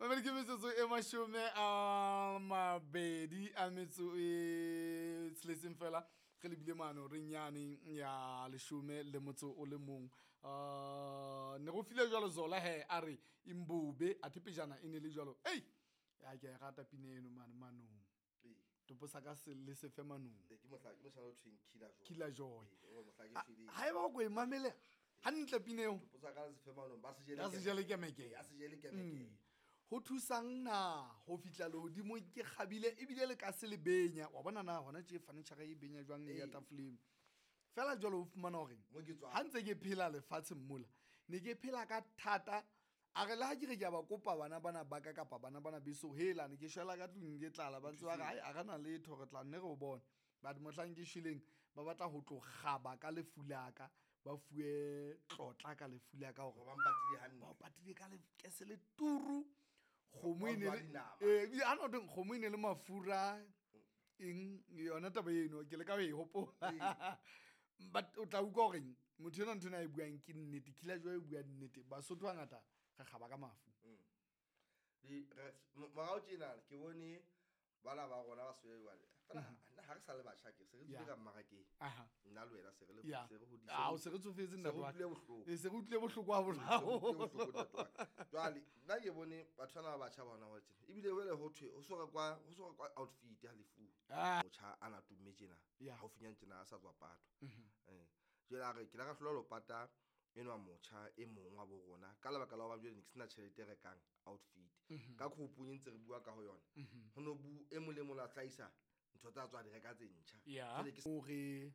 Mamedi, ke metsotso e 26 fela re lebile mano reng yane ya 11. Ne go file jwalo Zola he a re imbobe a thepejana e ne le jwalo. Ei, ya ke a e rata pina eno mane manong. Topo sa ka se le sefe manong. Ke mohla ke moshana o thweng Killer Joy. Killer Joy. Ee, o mohla ke shweleng. Ha eba o ko e mamele hantle pina eo. Topo sa ka le sefe manong, ba se jele Ba se jele kemekeme. Ba se jele kemekeme. Ho thusang na ho fihla lehodimong ke kgabile ebile le ka se le benya. Wa bona na hona tje furniture e benya jwang ya tafoleng. Fela jwale o fumana hore Mo ke tswang. ha ntse ke phela lefatsheng mola, ne ke phela ka thata. A re le ha ke re ke a ba kopa bana bana ba ka kapa bana bana beso, hela ne ke shwela ka tlung ke tlala, ba ntse ba re, ai, a re na letho, re tla nne re o bone. But mohlang ke shweleng, ba batla ho tlo kgaba ka lefu la ka, ba fuwe tlotla ka lefu la ka hore Ba mpatile hantle. Ba mpatile ka lekese le turu. Kgomo e ne Ba le dinama. Ebile ha no teng, kgomo e ne le mafura, eng, yona taba eno, ke leka ho e hopola. But o tla utlwa hore motho enwa ntho ena a e buang ke nnete, Killer Joy e bua nnete. Basotho hangata re kgaba ka mafu. Morao tjena ke bone bana ba rona ba swele jwale. Fela nna ha re sa le batjha ke se re tswile ka mmarakeng. Nna le wena se re le se re hodise. Ah, o se re tsofetse Se re ntate wa ka. utlwile bohloko. Se re utlwile bohloko haholo. Se re utlwile bohloko ntate wa ka. Jwale nna ke bone batho bana ba batjha bona ba tjena. Ebile jwale ho thwe, ho so rekwa, ho so rekwa outfit ha lefu. Motjha a na tumme tjena. Haufinyane tjena a sa tswa patwa. Jwale a re ke la ka hlola lo pata enwa motjha e mong wa bo rona ka lebaka la hoba jwale ne ke sena tjhelete e rekang outfit. Ka group-ung e ntse re bua ka ho yona. Ho no bu e mong le mong a hlahisa ntho tsa tswa di reka tse ntjha. Jwale ke Hore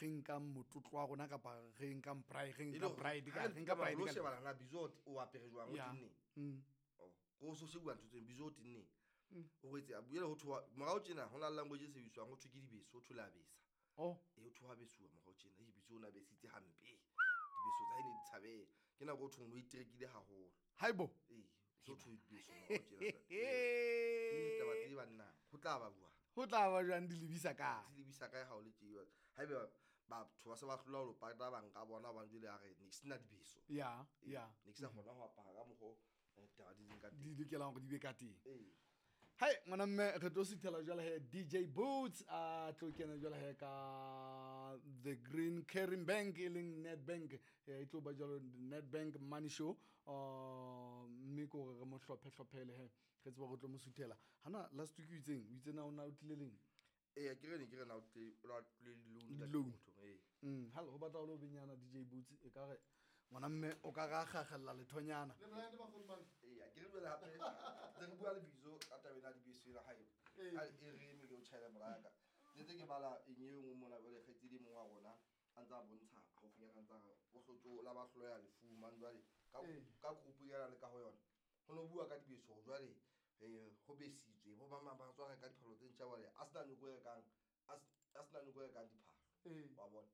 re nkang motlotlo wa rona kapa re nkang pride, re E le nkang hore pride ka, ha re re nka fihla pride lo ka shebana na Bizo o apere jwang, o tenneng? Oh, ko so shebuwa ntho tseo, Bizo o tenneng? O rwetse, a buela ho thwa, morao tjena ho na le language e sebediswang, ho thwe ke dibeso, ho thwe le a besa. E, ho thwe wa besuwa morao tjena. Ei, Bizo o na besitse hampe. Dibeso tsa hae ne di tshabeha. Ke nako ho thweng o iterekile haholo. Haibo. Ee, so thwe dibeso morao tjena. Ee, taba tse banna, ho tla ba jwang? Ho tla ba jwang di lebisa kae? Di lebisa kae ha o le tje? Haeba batho ba se ba hlola ho lo pata ba nka bona hobane jwale a re ne ke sena dibeso. Ee, ne ke sa kgona ho apara ka mokgo, taba di leng ka teng. Di lokelang hore di be ka teng. Ee. Hai, ngwana mme, re tlo suthela jwale he DJ Boots a tlo kena jwale he ka The Green Caring Bank e leng Nedbank. E tlo ba jwalo Nedbank Money Show. Mme ke hore re mo hlophe hlophele he. Re tsebe hore re tlo mo suthela. Hana last week o itseng? O itse na o na o tlile leng? Ee, ke re ne ke re na o tlile, o na tlile di-loan ka Di-loan. motho, ee. Halo, ho batla ho le benyana DJ Boots, e ka re ngwana mme o ka ra kgakgella lethonyana. Le Brian ba kgone bana. Ee, a ke re jwale hape, ntse re bua le Bizo ka taba ena ya dibese ena hae. Ha e re eme ke o tjhaela moraka. Ke ntse ke bala eng e nngwe mona jwale, kgaitsedi e mong wa rona a ntse a bontsha haufinyana, a ntse a re o hlotse la ba hloya lefu mang jwale ka group ena le ka ho yona. Ho no bua ka dibese hore jwale, ho besitswe, bo mang ba tswa reka diphahlo tse ntjha jwale, a sena nyoko e rekang, a a sena nyoko e rekang diphahlo. Wa bona?